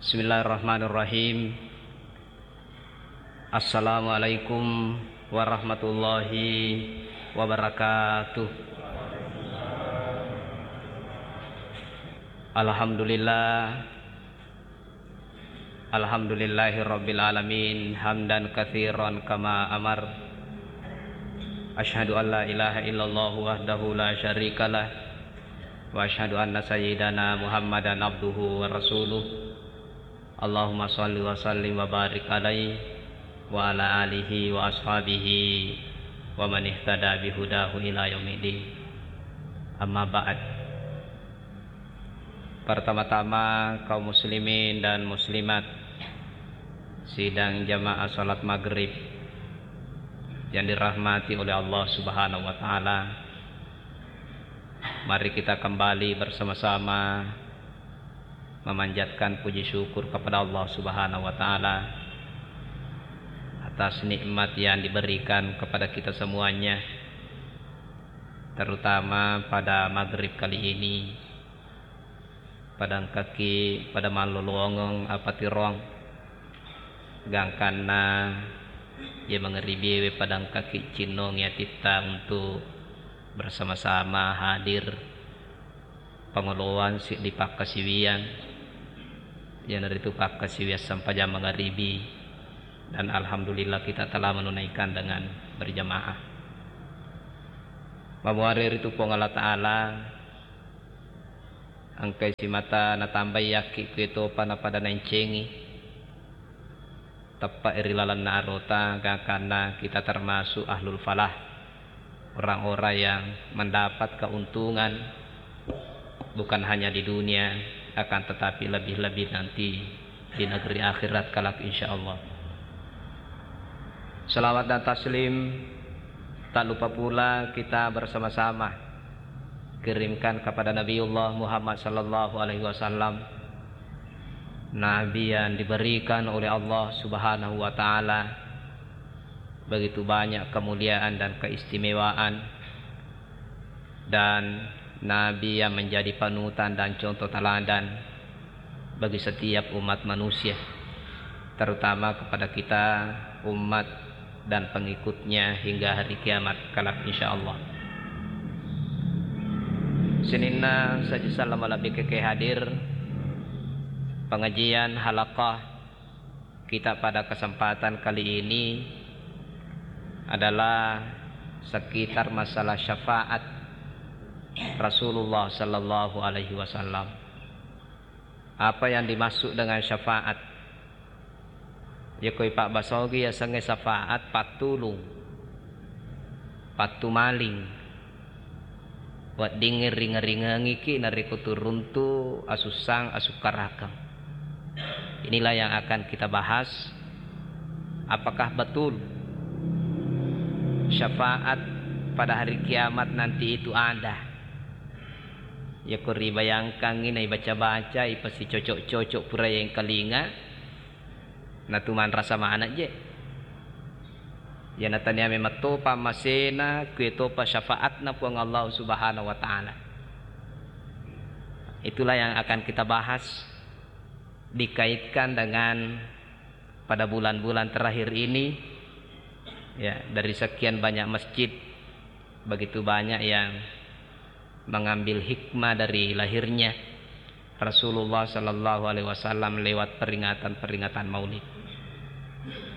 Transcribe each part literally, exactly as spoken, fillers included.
Bismillahirrahmanirrahim. Assalamualaikum warahmatullahi wabarakatuh. Alhamdulillah. Alhamdulillahi rabbil alamin, hamdan katsiran kama amar. Asyhadu an la ilaha illallah wahdahu la syarikalah, wa asyhadu anna sayyidana Muhammadan abduhu wa rasuluh. Allahumma shalli wa sallim wa barik alaihi wa ala alihi wa ashabihi wa man ihtada bihudahu ila yaumiddin. Amma ba'd. Pertama-tama, kaum muslimin dan muslimat, sidang jamaah salat maghrib yang dirahmati oleh Allah Subhanahu wa Ta'ala, mari kita kembali bersama-sama memanjatkan puji syukur kepada Allah Subhanahu wa Ta'ala atas nikmat yang diberikan kepada kita semuanya, terutama pada maghrib kali ini. Pada engkaki pada mallolongeng apatiroang, gangkanna iya mangaribiéwé pada engkaki cinnongi atitta untuk bersama-sama hadir pangoloan siddi pakkasiwiang, iyanaritu pakkasiwiang sempajang mangaribi, dan alhamdulillah kita telah menunaikan dengan berjamaah. Mamuare ritu Puang Allah Ta'ala, engkai simata natambai yakki kuetopa napada naencengi. Teppa ri lalenna arota, gangkanna kita termasuk ahlul falah, orang-orang yang mendapat keuntungan bukan hanya di dunia, akan tetapi lebih-lebih nanti di negeri akhirat kelak, insya Allah. Salawat dan taslim tak lupa pula kita bersama-sama kirimkan kepada Nabiullah Muhammad sallallahu alaihi wasallam, Nabi yang diberikan oleh Allah Subhanahu wa Ta'ala begitu banyak kemuliaan dan keistimewaan, dan Nabi yang menjadi panutan dan contoh teladan bagi setiap umat manusia, terutama kepada kita umat dan pengikutnya hingga hari kiamat kelak, insya Allah. Sininna saji sallama lebbi keke hadir, pengajian halakah kita pada kesempatan kali ini adalah sekitar masalah syafaat Rasulullah sallallahu alaihi wasallam. Apa yang dimaksud dengan syafaat? Yako ipabbasa ogi yasengnge syafaat, pattulung, pattumaling, weddingnge ringe-ringengiki narekko turuntu asussang asukkarakeng. Inilah yang akan kita bahas. Apakah betul syafaat pada hari kiamat nanti itu ada? Yako ribayangkangngi, naibaca-baca, ipasicocok-cocok pura yengkalinga, natumanrasa maneng je. Iyana tania memang topa masena, kuetopa syafaatna Puang Allah Subhanahu wa Ta'ala. Itulah yang akan kita bahas dikaitkan dengan pada bulan-bulan terakhir ini, ya, dari sekian banyak masjid, begitu banyak yang mengambil hikmah dari lahirnya Rasulullah sallallahu alaihi wasallam lewat peringatan-peringatan Maulid.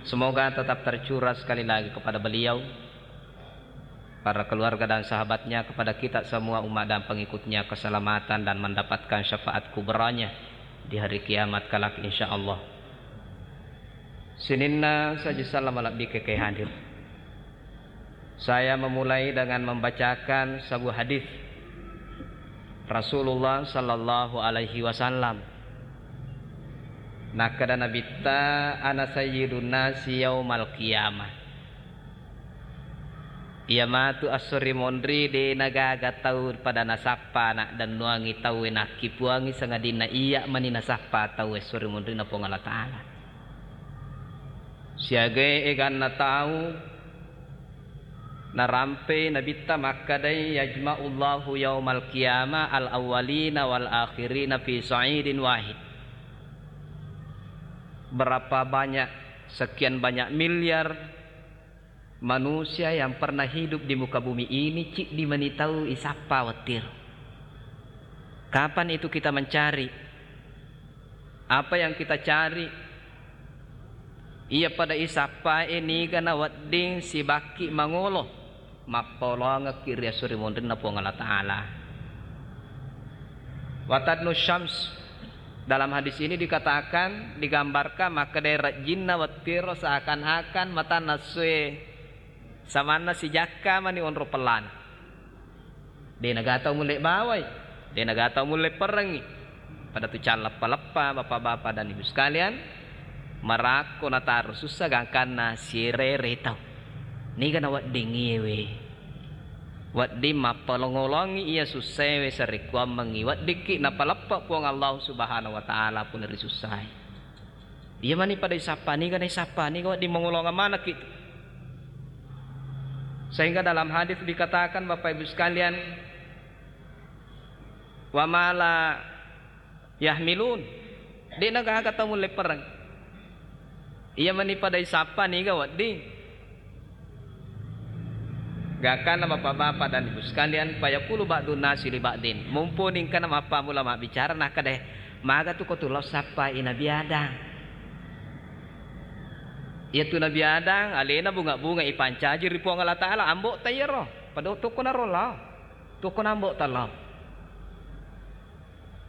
Semoga tetap tercurah sekali lagi kepada beliau, para keluarga dan sahabatnya, kepada kita semua umat dan pengikutnya keselamatan dan mendapatkan syafaat kubranya di hari kiamat kelak, insya Allah. Sininna saji sallama lebbi keke hadir. Saya memulai dengan membacakan sebuah hadis Rasulullah sallallahu alaihi wasallam. Nakkeda Nabitta, "Ana sayyidun nasi yaumal qiyamah." Iya matu esso ri monri de nagaga tau pada nasappa, naddennuangi tauwe, nakkipuangi sangadinna iya mani nasappa tau esso ri monri na Puang Allah Ta'ala. Siagai eganna tau narampei Nabitta makkedai, "Yajma'ullahu yaumal qiyamah al-awwalina wal akhirina fi sa'idin wahid." Berapa banyak, sekian banyak miliar manusia yang pernah hidup di muka bumi ini, ciddi mani tau isappa wettiro. Kapan itu kita mencari? Apa yang kita cari? Iya pada isappae niga nawedding sibakki mangolo. Mappaolongekki ri esso ri monrinna Puang Allah Ta'ala. Watadnu syams, dalam hadis ini dikatakan, digambarkan, makkeda rejjinna wettiro seakan-akan matanna essoe samanna sijakka mani onro pellana. De naga tau mulle bawai, de naga tau mulle perrengngi. Pada tu calleppa-leppa, bapak-bapak dan ibu sekalian, marakko nataro sussa gangkanna sirere tau. Niga nawedding iyewe. Wedding mappalongolongi iya sussaewe sarekkuammengngi weddikki napaleppe Puang Allah Subhanahu wa Ta'ala puna ri sussae. Iya mani pada isappa, niga naisappa, niga wedding mangolongeng manekki tu. Sehingga dalam hadis dikatakan, Bapak Ibu sekalian, wa ma la yahmilun. De nagaga tau mulle pereng. Iya mani pada isappa, niga wedding. Gangkanna bapak-bapak dan ibu sekalian, fayaqulu ba'dun nasi li ba'din. Mumpuni engkana mappamula mabbicara, nakkeda, maga tu ko tu lao sappai Nabi Adam. Iya tu Nabi Adam, alena bunga-bunga ipancaji ri Puang Allah Ta'ala, ambo ta iyaro. Pada tokko naro lao. Tokko nambo ta lao.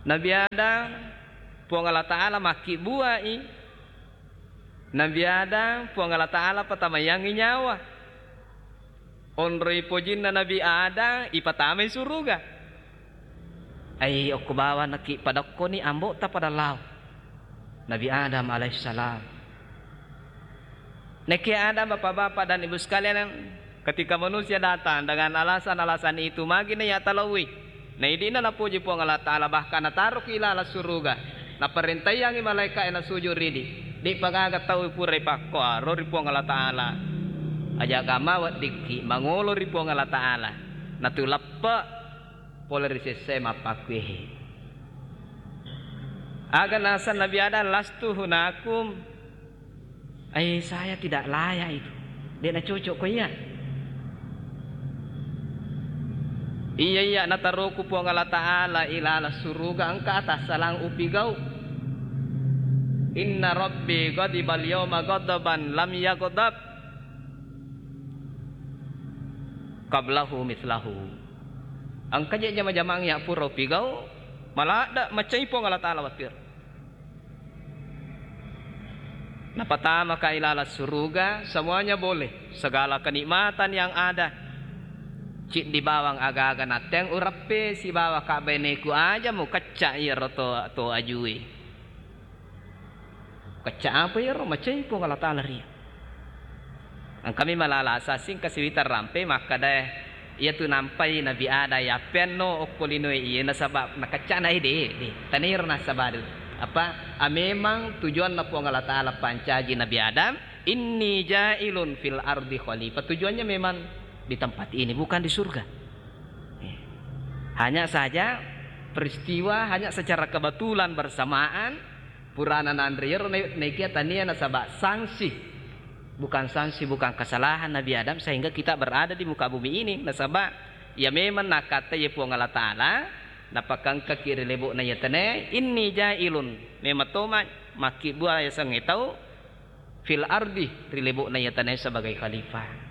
Nabi Adam, Puang Allah Ta'ala makkibbuai. Nabi Adam, Puang Allah Ta'ala patamaiyangngi nyawa. Onroi pojinna Nabi Adam, ipatamai suruga. Ai, okko bawang naki padokkoni ambo ta pada lao. Nabi Adam alaihissalam. Nekke ada bapak-bapak dan ibu sekalian, ketika manusia datang dengan alasan-alasan itu, magi na iya talaui. Na idi'na napuji Puang Allah Ta'ala, bahkan nataroki ilala suruga. Naparentaiyangi malaika'e nasuju ridi. De'pa gaga tau pura ipakkoaro ri Puang Allah Ta'ala. Aja gama weddikki mangolo ri Puang Allah Ta'ala. Natulappa pole ri sessae mappakkuehe. Aga naseng Nabi Adam, lastu hunakum. Ai, saya tidak layak itu. De'na cocok ko iya. Iya, iya, nataroku Puang Allah Ta'ala ilala suruga engka tassalang upigau. Inna rabbi ghadibal yauma ghadaban lam yaghdab qablahu mitslahu. Engka je jama-jamang ya pura upigau, maladda macai Puang Allah Ta'ala wattir. Napatamaka ilala suruga, semuanya boleh. Segala kenikmatan yang ada. Ciddi bawang aga-aga natteng ureppe sibawa kabbeneku aja mukecca iyaro to, to ajue. Kecca apa iyaro? Macai Puang Allah Ta'ala ria. Engkami malala asasing kasiwita rampe makkadae, iyatu nampai Nabi Adam yappeanno okko linoe iye nasaba nakeccana ede, de. Taniro nasaba de. Apa, a, memang tujuanna Puang Allah Ta'ala pancaji Nabi Adam, inni ja'ilun fil ardi khalifah. Tujuannya memang di tempat ini, bukan di surga. Eh. Hanya saja peristiwa hanya secara kebetulan bersamaan purana nanre iyaro na-, naikia tania nasaba sanksi. Bukan sanksi, bukan kesalahan Nabi Adam sehingga kita berada di muka bumi ini. Nasaba ya memang nakkatta ya Puang Allah Ta'ala, napakangkaki ri lebo'na iya tanae, inni ja'ilun, memang toma makkibbua yasengnge tau fil ardi, ri lebo'na iya tanae sebagai khalifah.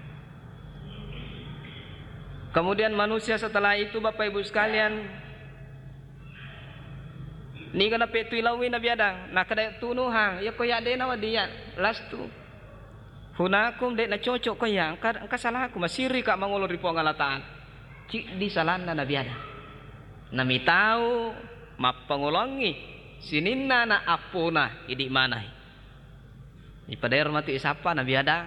Kemudian manusia setelah itu, Bapak Ibu sekalian, niga napettui laui Nabi Adam, nakkeda tunuhang, iya ko ya de nawedding ya, lastu hunakum, de nacocok ko ya, engka, engka salahku, masirika mangolo ri Puang Allah Ta'ala. Ciddi salanna Nabi Adam. Namitau mappangolongi sininna anak appona idi manai. Ipadero matu isappa Nabi Adam.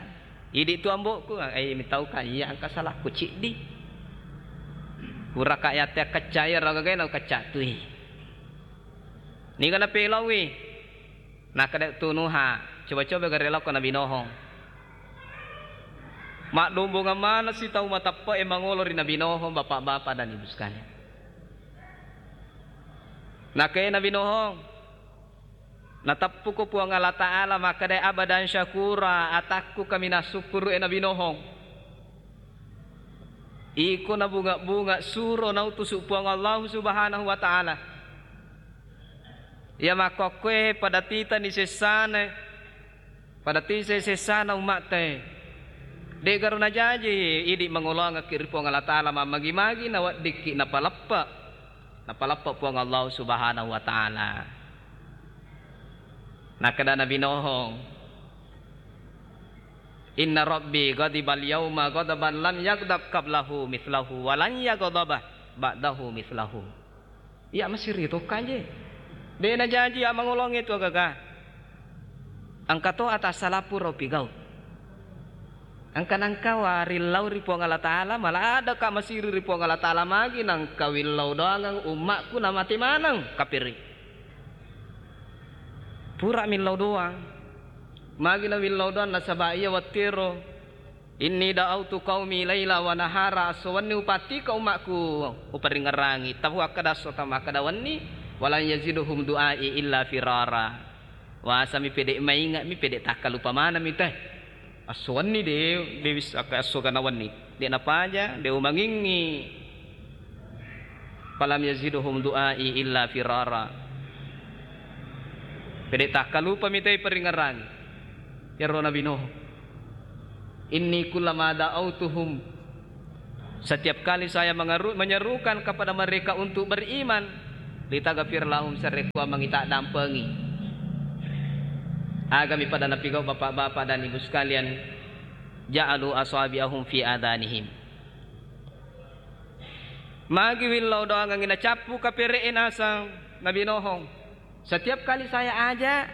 Idi tu ambo'ku, eh, mitauka iya engka salahku ciddi. Puraka yatte kecca iya ragagai nau kecca tui. Niga napelaui. Nakkeda tunuha, coba-coba gare lao ko Nabi Nuh. Maddombongeng maneng si tau mateppe'e mangolo ri Nabi Nuh, bapak-bapak dan ibu sekalian. Nakke Nabi Nuh, Nateppuko Puang Allah Ta'ala makkeda, "Abdan syakura, atakku kaminang sukkuru e Nabi Nuhung. Iko nabunga-bunga suro nautusu Puang Allah Subhanahu wa Ta'ala. Iya makkokkoe pada titani sessana, pada tise sessana ummatta e. De'garo najaji idi mangolongekki ri Puang Allah Ta'ala, mammagi-magi naweddikki napaleppe, napaleppe Puang Allah Subhanahu wa Ta'ala." Nakkeda Nabi Nuhung, "Inna rabbi ghadibal yauma ghadaban lam yaghdab qablahu mitslahu wa lan yaghdaba ba'dahu mitslahu." Iya masiri to kanje. De najaji iya mangolonge tu agaga. Engka to atas salapura upigau. Engka nangka warillau ri Puang Allah Ta'ala, mala adaka masiri ri Puang Allah Ta'ala, magi nangka willau doangeng ummakku namate maneng kapiri. Pura millau doang. Magi na willau doang nasaba iya wettero, "Inni da'autu qaumi laila wa nahara," esso wenni upattika ummakku, uparingngerangi, tafu akkada esso tamakkada wenni, "Walan yaziduhum du'ai illa firara." Wasami pede mainge'mi, pede takkalupa manengmi te. Esso wenni de, de wis akka esso gana wenni. De napaja, de umangingngi. "Falam yaziduhum du'ai illa firara." Pede takkalupami te paringngerangi. Iyaro Nabi Nuh. "Inni kullama da'autuhum," setiap kali saya mengeru-, menyerukan kepada mereka untuk beriman, "litaghfir lahum," sarekkuammengngi taddampengi. Agami pada napigau bapak-bapak dan ibu sekalian, "ja'alu asabi'ahum fi adanihim." Magi willau doangengngi nacappu kapere'e nasang Nabi Nuh. Setiap kali saya ajak,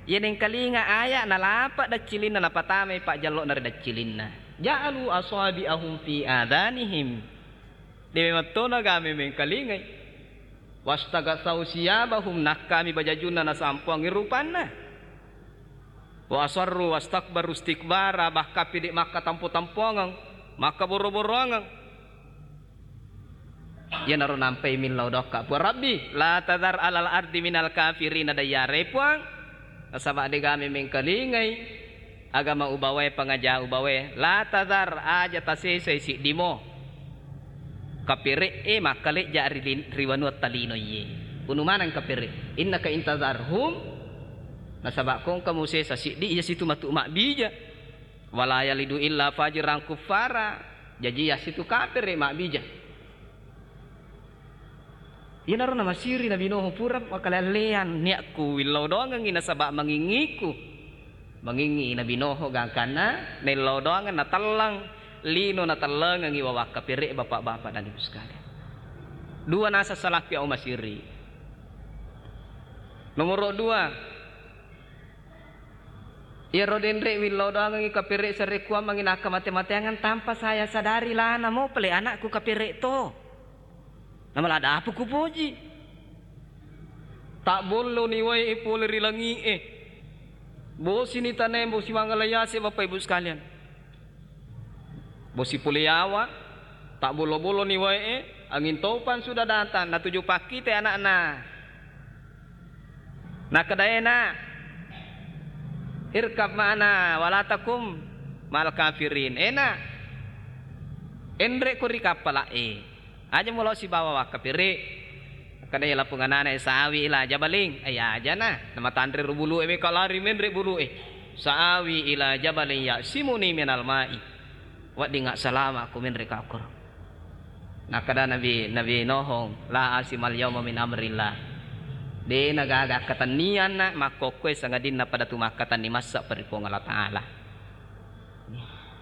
iya nengkalinga aya nalapa daccilinna napatamai pajjallo'na ri daccilinna. Ja'alu asabi'ahum fi adanihim. De memettona game mengkalingai. Wastaghatsau tsiyabahum, nakkami bajajunna nasampuangngi rupanna. Wa asarru wastakbaru istikbara, bahkan pede makkatampo-tampoangeng, makkaboro-boroangeng. Iyanaro nampai millau dokka, "Puang Rabbi, la tadhar alal ardi minal kafirina dayyara, Puang, nasaba degame mengkalingai agama ubawae, pangaja ubawae, la tadhar, aja tasesai siddimo kapere'e makkalejja ri lin-, ri wanuatta lino iye." Unu maneng kapere, "Innaka intadharhum," nasaba ko engka musesa siddi, iya situ matu mabbija. "Wala yalidu illa fajiran kuffara." Jaji yasitu kapere mabbija. Iyanaro namasiri Nabi Nuh, "Pura makalean-lean niakku willau doangengngi nasaba mangingiku." Mangingi Nabi Nuh gangkanna naillau doangeng natelleng lino, natellengengngi wawakka pere, bapak-bapak dan ibu sekalian. Dua nasa salakki au masiri. Nomoro dua, Iyaro denre willau doangengngi kapere sarekkuang manginakka mate-mateangan tanpa saya sadari, lana mo pale anakku kapere to. Namala dapu kupoji. Tabbolloni wae pole ri langi'e. Bosini tanae, bosi mangala yase, Bapak Ibu sekalian. Bosi pole yawa, tabbollo-bolloni wae'e, angin topan sudah datang, natuju pakkite anakna. Nakkeda, "Ena, irkab ma'ana, wala takum ma'al kafirin." Ena, enre ko ri kappala'e. Aja mulo sibawa wakkapere. Kada iya lapung anana, "Sawi ila jabaling." Ai ajana, namatanre ro bulu'e, meka lari menre bulu'e. "Sawi ila jabaling ya'simuni minal ma'i." Wedding assalama ko menre ka okkoro. Nakkeda Nabi, Nabi Nuh, "La asimal yauma min amrillah." De nagaga akkatennianna makkokkoe sangadinna pada tu makkatenni massa ri Puang Allah Ta'ala.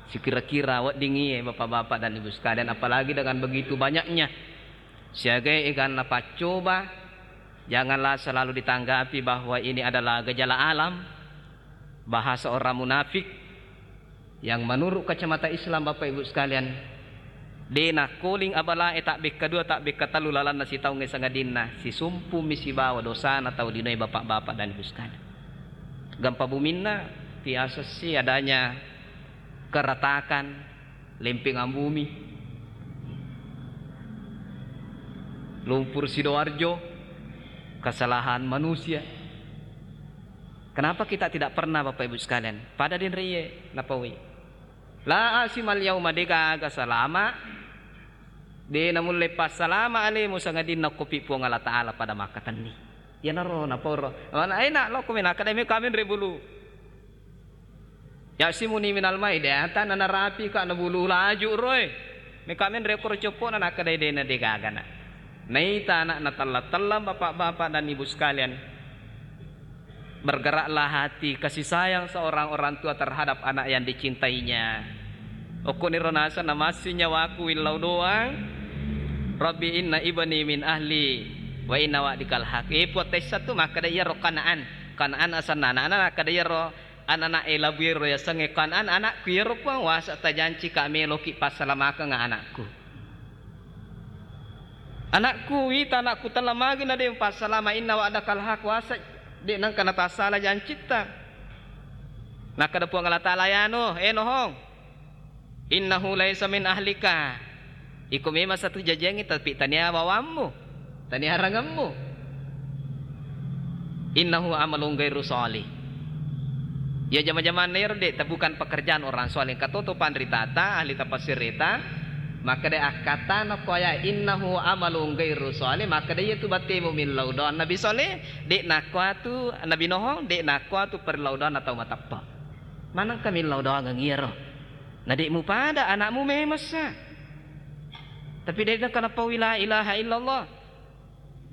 Sikira-kira wedding iye, Bapak-bapak dan Ibu sekalian, apalagi dengan begitu banyaknya siaga eganna paccoba, janganlah selalu ditanggapi bahwa ini adalah gejala alam, bahasa orang munafik yang menurut kacamata Islam, Bapak Ibu sekalian, de nakkoling abalae tabbekka dua, tabbekka tellu lalanna sitaungnge sangadinna sisumpummi sibawa dosana tau linoe, Bapak-bapak dan Ibu sekalian. Gempa buminna tiasessi adanya keretakan, lempengan bumi, lumpur Sidoarjo, kesalahan manusia. Kenapa kita tidak pernah, Bapak Ibu sekalian? Pada denrie napaui. La asimal yauma, de gaga salama, de namulle passalama alemu sangadinna okkopi Puang Allah Ta'ala pada makkatenni. Iyanaro naporo. Mana enak lo kumi nakkeda me kamenre bulu. Yasimuni minal mai, de ata nanarapi ka nabulu laju roe. Me kamenre koro coppona nakkeda de na de gagana. Naita anakna tella-tella, Bapak-bapak dan Ibu sekalian. Bergeraklah hati kasih sayang seorang orang tua terhadap anak yang dicintainya. Okkoniro naseng namassi nyawaku willau doang, Rabbi inna ibni min ahli wa inna wa'dikal haq. Eh, Puang, tessa tu makkeda iyaro Kanaan. Kanaan asenna anakna, nakkeda iyaro anana e labu ero yasengnge Kanaan, anakku iyaro Puang, wasa tajanci ka meloki passalamakeng anakku. Anakku, wita anakku tella magi na de passalama, inna wa'dakal haq, wasa de nengka natassala jancitta. Nakkeda Puang Allah Ta'ala, ya Nuh, eh Nuhong, innahu laisa min ahlika. Iko memang satu jajiangngi, tapi tania bawammu, tania arangemmu. Innahu amalun ghairu shalih. Ya jama-jamanna ero de, bukan pekerjaan orang saleh. Engka toto panritata, ahli tafsirita, makkeda akkatana ko aya innahu amalun ghairu shalih, makkeda iyatu battemu millau doang Nabi Saleh, de nakkuatu Nabi Nohong, de nakkuatu perlau doang tau mateppa. Manengka millau doangeng iyaro. Na de mupada anakmu memessa. Tapi de nengka napaui la ilaha illallah.